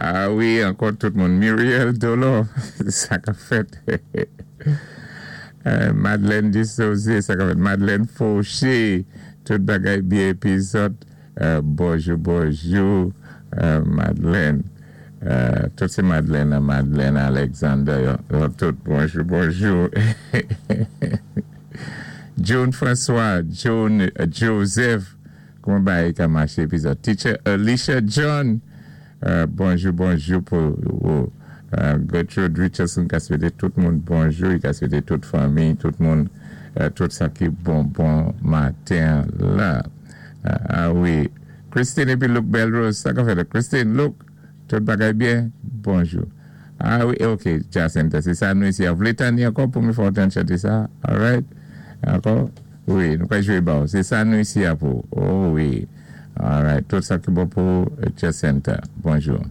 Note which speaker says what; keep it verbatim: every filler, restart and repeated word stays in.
Speaker 1: A wi, ankò tout moun. Muriel Dolo, sa ka fèt. Madeleine Dissosé, sa ka fèt. Madeleine Fauché, tout bagay byen épi zòt. Bonjou, bonjou, Madeleine. Tout sé Madeleine, Madeleine Alexander. Tout bonjou, bonjou. June François, June Joseph, kouman bagay ka maché épi zòt. Teacher Alicia John, bonjou, bonjou pou ou. Gertrude Richardson ka swété tout moun bonjou, i ka swété tout fanmi, tout moun, tout sa ki bon bon maten la. A wi, Christine épi Luke Belrose, sa ka fèt. Christine, Luke, tout bagay byen, bonjou. A wi, ok, Jacinta, sé sa nou isi. A vlé tanni ankò pou mi fè tan chanté sa? Alright? Ankò? Wi, nou ka jwé ba ou. Sé sa nou isi a pou. Oh wi. Alright, tout sa ki bon pou Jacinta. Bonjou.